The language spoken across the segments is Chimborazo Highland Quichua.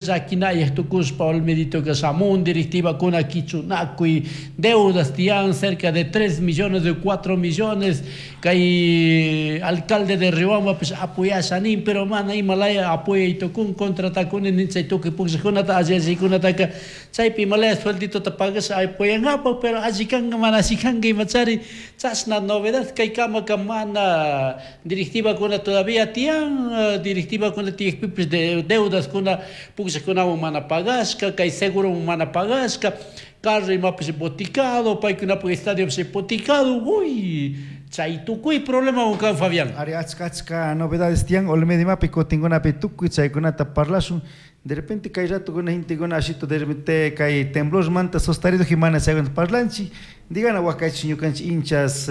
Llaquinayaj tucushpa Olmeditoka shamun directivakuna quichunakuy deudas tiyan cerca de 3 millones de 4 millones kay alcalde de Riobambapish apoyasha nin pero mana ima laya apoyay tukun contratakuni nin chay tukuy pukllajkunata alli allikunataka chaypi ima laya suelditota pagasha apoyangapak pero alli kanka mana alli kanka imachari chashna novedad kay kamaka mana directivakuna todavía tiyan directivakuna tiyakpipish deudaskuna pukllajkunawan mana pagashka kay segurowan mana pagashka carro imapish boticado paykunapak estadiopish hipoticado uy chay tukuy problemawan kan Fabián. Ari achka achka novedades tiyan Olmedo imapi kutinkunapi tukuy chaykunata parlashun de repente kay ratukuna gentekuna ashito de repente kay temblormanta sostarido mana chaykunata parlanchik digana wakaychik ñukanchik hinchas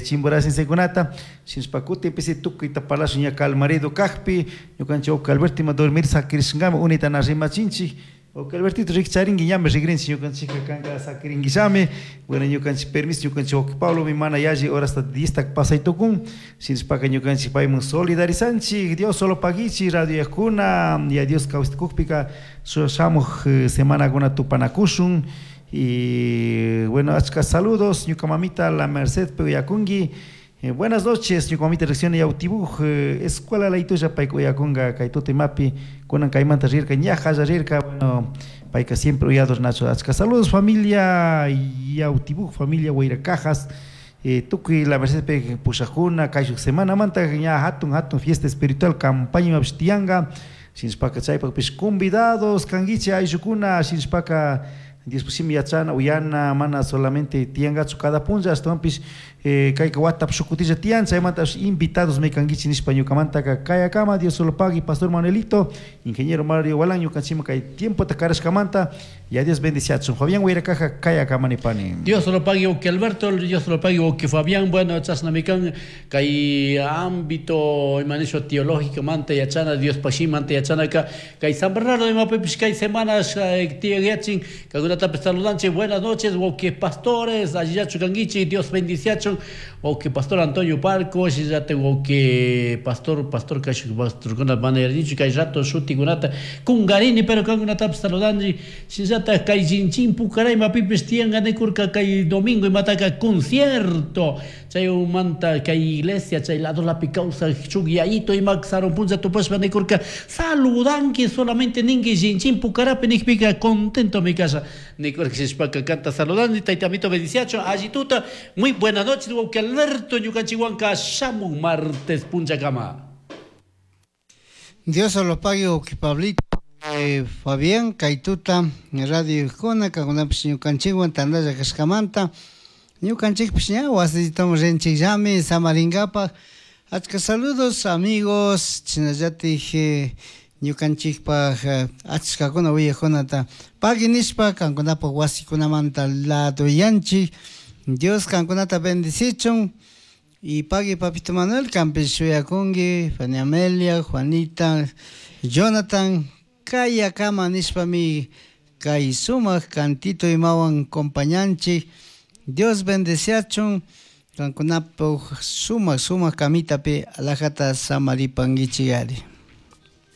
chimboracensekunata shinashpa kutinpisi tukuyta parlashun ña calmarido kakpi ñukanchik wawki Alberto ima dormir sakirishkami unita na rimachinchik wawki Albertito rikcharinki ñami rigrinchik ñukanchikka kanka sakirinkillami bueno ñukanchik permiso ñukanchik wawki Pablomi mana yalli horasta 10 ta pasay tukun shinashpaka ñukanchik payman solidarizanchik Dios solo paguichik radio ya Dios kawsakukpika shamuj semanakuna tupanakushun y bueno achka saludos ñuka mamita La Merced uyakunki. Buenas noches ñuka mamita recién Yautibuj escuela laytulla payka uyakunka kay tuta imapi kunan kaymanta rirka ña rirka bueno payka siempre uyador Nacho achka saludos familia Yautibuj familia Huayracajas tukuy La Mercedpi pushakuna kayshuk semanamanta ña hatun hatun fiesta espiritual campaña imapish tiyanka shinashpaka chaypakpish convidados kankichik ayllukuna shinashpaka Dios shimi yachana uyana mana solamente tiyankachu cada punlla ashtawanpish kayka watapi shuk kutilla tiyan chaymanta invitados mi kankichik nishpa ñukamantaka kayakama Dios solo pagui Pastor Manuelito ingeniero Mario Walán ñukanchikman kay tiempota karashkamanta ya Dios bendiciachun Fabián Huayracaja kayakama nipani. Dios lo pague que Alberto, Dios lo pague que Fabián, bueno, chashnami kan kay ámbito imanisho teológico manta yachana Dios pashimanta yachanaka kay San Bernardo imapipish kay semanas tiyayachin kaykunatapis saludanchik buenas noches wawki pastores allillachu kankichik Dios bendiciachun wawki pastor Antonio Parco shinallatak wawki pastor pastor kashuk pastorkuna mana yarinichu kay rato shutikunata kungarini pero kankunatapis saludanchik shinallatak kay Chinchin Pucará imapipish tiyanka nikurka kay domingo imataka concierto chaymanta kay iglesia chay ladolapi kawsak shuk yayito ima sarun punlla tupashpa nikurka saludanki solamente ninki Chinchin Pucarapi nikpika contentomi kasha nikurka shishpaka kanta saludani tayta amito bendiciacho allituta muy buenas noches wawki Alberto ñukanchikwanka shamun martes punllakama. Dios lo pague wawki Pablito Fabián kaytuta radio kuna kankunapish ñukanchikwan tantalla kashkamanta ñukanchikpish ña wasillitaman rinchikllami samarinkapak achka saludos amigos chashnallatik ñukanchikpak achkakuna uyajkunata pagui nishpa kankunapak wasikunamanta ladoyanchik Dios kankunata bendicichun y pagui papito Manuel kanpish shuyakunki Fanny Amelia Juanita Jonathan kayakama nishpami kay sumak cantito imawan compañanchik Dios bendeciachun kankunapuk sumak sumak kamitapi alajata samaripankichik ari.